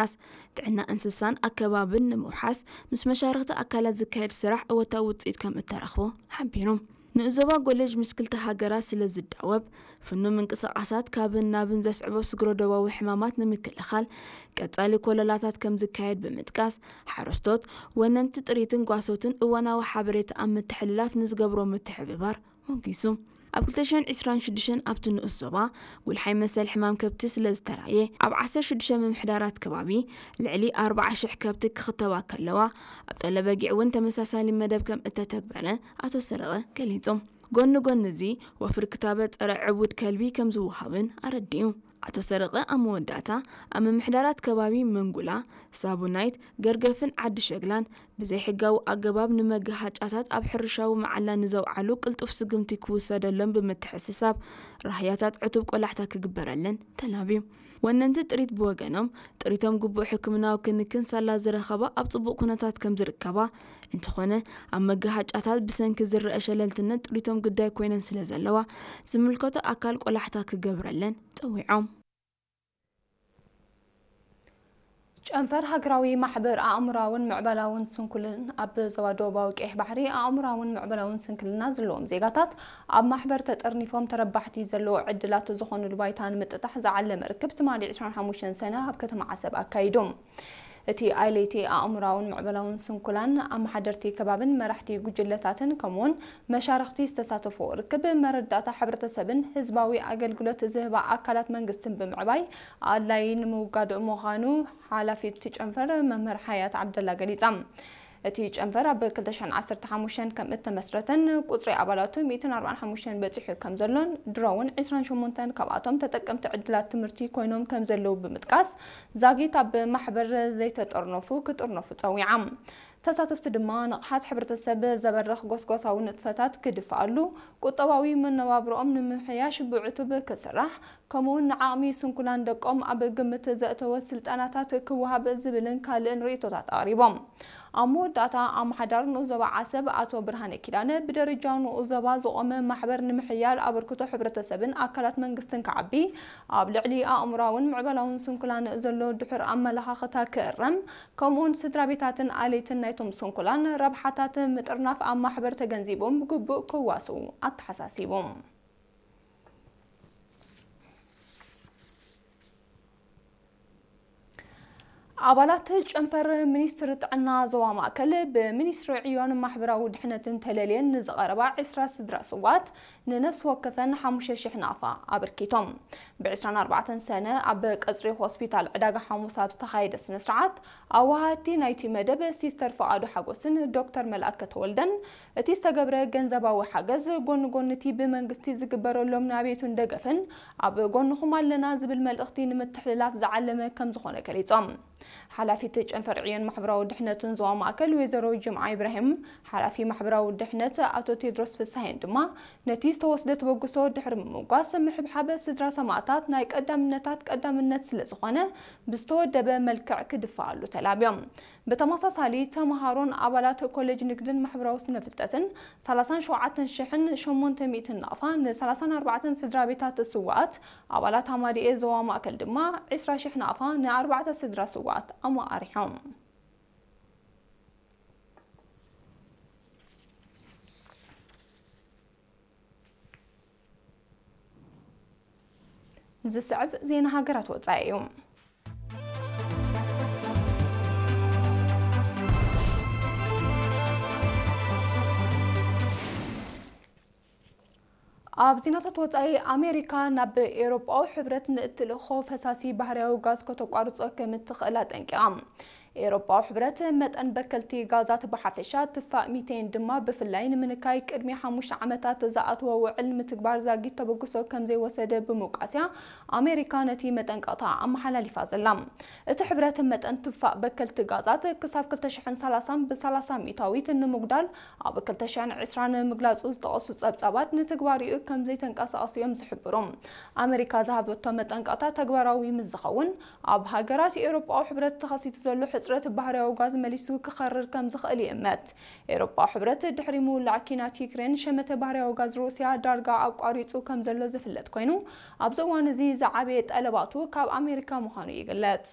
ንምጥቃስ፣ ጥዕና እንስሳን ኣከባብን ንምውሓስ ምስ መሻርኽቲ ኣካላት ዝካየድ ስራሕ እወታዊ ውፅኢት ከም እተረኽቦ ሓቢሩ። ንኡዞባ ጎለጅ ምስ ክልተ ሃገራት ስለ ዝዳወብ፣ ፍኑ ምንቅስቓሳት ካብን ናብን ዘስዕቦ ስግረ ዶባዊ ሕማማት ንምክልኻል ቀጻሊ ኮለላታት ከም ዝካየድ ብምጥቃስ፣ ሓረስቶት፣ ወነንቲ ጥሪትን ጓሶትን እዋናዊ ሓበሬታ ኣብ ምትሕልላፍ ንዝገብሮ ምትሕብባር ሞጊሱ። ኣብ ክልተ ሽሕን ዕስራን ሽዱሽተን ኣብቲ ንኡስ ዞባ ጉልሓይ መሰል ሕማም ከብቲ ስለ ዝተራእየ፣ ኣብ ዓሰርተ ሽዱሽተ ምምሕዳራት ከባቢ ልዕሊ ኣርባዓ ሽሕ ከብቲ ክኽተባ ከለዋ፣ ኣብ ጠለበጊዕ እውን ተመሳሳሊ መደብ ከም እተተግበረ ኣቶ ሰረቐ ገሊጹ። ጎኒ ጎኒ እዚ፣ ወፍሪ ክታበት ጸረ ዕቡድ ከልቢ ከም ዝወሃብን ኣረዲኡ። ኣቶ ሰረቐ ኣብ መወዳእታ፣ ኣብ ምምሕዳራት ከባቢ መንጉላ፣ ሳቡናይት፣ ገርገፍን ዓዲ ሸግላን ብዘይሕጋዊ ኣገባብ ንመጋሃጫታት ኣብ ሕርሻዊ መዓላ ንዘውዓሉ ቅልጡፍ ስጉምቲ ክውሰደሎም ብምትሕስሳብ፣ ራህያታት ዕቱብ ቆላሕታ ክግበረለን ተላብዩ። ወነንቲ ጥሪት ብወገኖም፣ ጥሪቶም ግቡእ ሕክምናዊ ክንክን ሳላ ዝረኸባ ኣብ ጽቡቕ ኩነታት ከም ዝርከባ፣ እንተኾነ ኣብ መጋሃጫታት ብሰንኪ ዝረአ ሸለልትነት ጥሪቶም ግዳይ ኮይነን ስለ ዘለዋ፣ ዝምልከቶ ኣካል ቆላሕታ ክገብረለን ጸዊዖም። ጨንፈር ሃገራዊ ማሕበር ኣእምራውን ምዕባላውን ስንኩልን ኣብ ዞባ ደቡባዊ ቀይሕ ባሕሪ ኣእምራውን ምዕባላውን ስንክልና ዘለዎም ዜጋታት ኣብ ማሕበር ተጠርኒፎም ተረባሕቲ ዘለዎ ዕድላት ዝኾኑሉ ባይታ ንምጥጣሕ ዝዓለመ ርክብ ትማሊ ዕስራን ሓሙሽተን ሰነ ኣብ ከተማ ዓሰብ ኣካይዱ። እቲ ኣይለይቲ ኣእምራውን ምዕባላውን ስንኩላን ኣመሓደርቲ ከባብን መራሕቲ ጉጅለታትን ከምኡውን መሻርኽቲ ዝተሳተፍዎ ርክብ መረዳእታ ሕብረተሰብን ህዝባዊ ኣገልግሎት ዝህባ ኣካላት መንግስትን ብምዕባይ ኣድላዪ ንምውጋድ ምዃኑ ሓላፊት ጨንፈር መምህር ሓያት ዓብደላ ገሊጻ። እቲ ጨንፈር ኣብ ክልተ ሽሕን ዓሰርተ ሓሙሽተን ከም እተመስረተን ቁጽሪ ኣባላቱ ሚእትን ኣርባዓን ሓሙሽተን በጺሑ ከም ዘሎን ድሮ እውን ዕስራን ሸሞንተን ካብኣቶም ተጠቀምቲ ዕድላት ትምህርቲ ኮይኖም ከም ዘለዉ ብምጥቃስ፣ ዛጊት ኣብ ማሕበር ዘይተጠርነፉ ክጥርነፉ ጸዊዓ። ተሳተፍቲ ድማ ንቕሓት ሕብረተሰብ ዘበርኽ ጎስጓሳዊ ንጥፈታት ክድፍኣሉ፣ ቁጠባዊ መነባብሮኦም ንምምሕያሽ ብዕቱብ ክስራሕ፣ ከምኡውን ንዓቕሚ ስንኩላን ደቆም ኣብ ግምት ዘእተወ ስልጠናታት ክወሃብ ዝብልን ካልእን ርእይቶታት ኣቕሪቦም። ኣብ መወዳእታ ኣመሓዳሪ ንኡስ ዞባ ዓሰብ ኣቶ ብርሃነ ኪዳነ ብደረጃ ንኡስ ዞባ ዝቖመ ማሕበር ንምሕያል ኣበርክቶ ሕብረተሰብን ኣካላት መንግስትን ክዓቢ፣ ኣብ ልዕሊ ኣእምራውን ምዕባላውን ስንኩላን ዘሎ ድሑር ኣመለኻኽታ ክእረም፣ ከምኡውን ስድራ ቤታትን ኣለይትን ናይቶም ስንኩላን ረብሓታት ምጥርናፍ ኣብ ማሕበር ተገንዚቦም ብግቡእ ክዋስኡ ኣተሓሳሲቡ። ኣባላት ጨንፈር ሚኒስትሪ ጥዕና ዞባ ማእከል ብሚኒስትሪ ዕዮን ማሕበራዊ ድሕነትን ተለልየን ንዝቐረባ ዕስራ ስድራ ስዋት ንነፍሲ ወከፈን ሓሙሽተ ሽሕ ናፋ ኣበርኪቶም። ብ ዕስራን ኣርባዕተን ሰነ ኣብ ቀጽሪ ሆስፒታል ዕዳጋ ሓሙስ ኣብ ዝተኻየደ ስነ ስርዓት፣ ኣወሃድቲ ናይቲ መደብ ሲስተር ፍቓዱ ሓጎስን ዶክተር መልኣከ ተወልደን፣ እቲ ዝተገብረ ገንዘባዊ ሓገዝ ጎኒ ጎኒ እቲ ብመንግስቲ ዝግበረሎም ናቤቱን ደገፍን ኣብ ጎንኹም ኣለና ዝብል መልእኽቲ ንምትሕልላፍ ዝዓለመ ከም ዝኾነ ገሊጾም። ሓላፊት ጨንፈር ዕዮን ማሕበራዊ ድሕነትን ዞባ ማእከል ወይዘሮ ጅምዓ ኢብራሂም፣ ሓላፊ ማሕበራዊ ድሕነት ኣቶ ቴድሮስ ፍሳሄን ድማ ነቲ ዝተወስደ ተበግሶ ድሕሪ ምምጓስ፣ ምሕብሓብ ስድራ ሰማእታት ናይ ቀዳምነታት ቀዳምነት ስለ ዝኾነ ብዝተወደበ መልክዕ ክድፋኣሉ ተላብዮም። ብተመሳሳሊ፣ ተምሃሮን ኣባላት ኮሌጅ ንግድን ማሕበራዊ ስነ ፍልጠትን ሰላሳን ሸውዓተን ሽሕን ሸሞንተ ሚእትን ናቕፋ ን ሰላሳን ኣርባዕተን ስድራ ቤታት ስውኣት፣ ኣባላት ኣማዲኤ ዞባ ማእከል ድማ ዕስራ ሽሕ ናቕፋ ን ኣርባዕተ ስድራ ስውኣት ኣመቓሪሖም። ዝስዕብ ዜና ሃገራት ወጻኢ እዩ። ኣብ ዜናታት ወጻኢ፣ ኣሜሪካ ናብ ኤውሮጳዊ ሕብረት ንእትልእኾ ፈሳሲ ባህርያዊ ጋዝ ከተቋርጾ ከም እትኽእል ኣጠንቂቓ። ኤውሮጳዊ ሕብረት መጠን በከልቲ ጋዛት ብሓፈሻ፣ ትፋእ ሚቴን ድማ ብፍላይ ንምንካይ ቅድሚ ሓሙሽተ ዓመታት ዝኣተወ ውዕል ምትግባር ዛጊት ተበግሶ ከም ዘይወሰደ ብምውቃስያ ኣሜሪካ ነቲ መጠንቀቕታ ኣመሓላሊፋ ዘላ። እቲ ሕብረት መጠን ትፋእ በከልቲ ጋዛት ክሳብ ክልተ ሽሕን ሰላሳን ብ ሰላሳ ሚእታዊት ንምጉዳል ኣብ ክልተ ሽሕን ዕስራን ምግላጹ ዝጠቐሱ ጸብጻባት ንትግባሪኡ ከም ዘይተንቀሳቐሱ እዮም ዝሕብሩ። ኣሜሪካ ዝሃበቶ መጠንቀቕታ ተግባራዊ ምስ ዝኸውን፣ ኣብ ሃገራት ኤውሮጳዊ ሕብረት ተኸሲቱ ዘሎ ሕጽረት ባህርያዊ ጋዝ መሊሱ ክኸርር ከም ዝኽእል ይእመት። ኤውሮጳዊ ሕብረት ድሕሪ ምውላዕ ኲናት ዩክሬን ሸመተ ባህርያዊ ጋዝ ሩስያ ዳርጋ ኣቋሪጹ ከም ዘሎ ዝፍለጥ ኮይኑ፣ ኣብዚ እዋን እዚ ዝዓበየ ጠለባቱ ካብ ኣሜሪካ ምዃኑ ይግለጽ።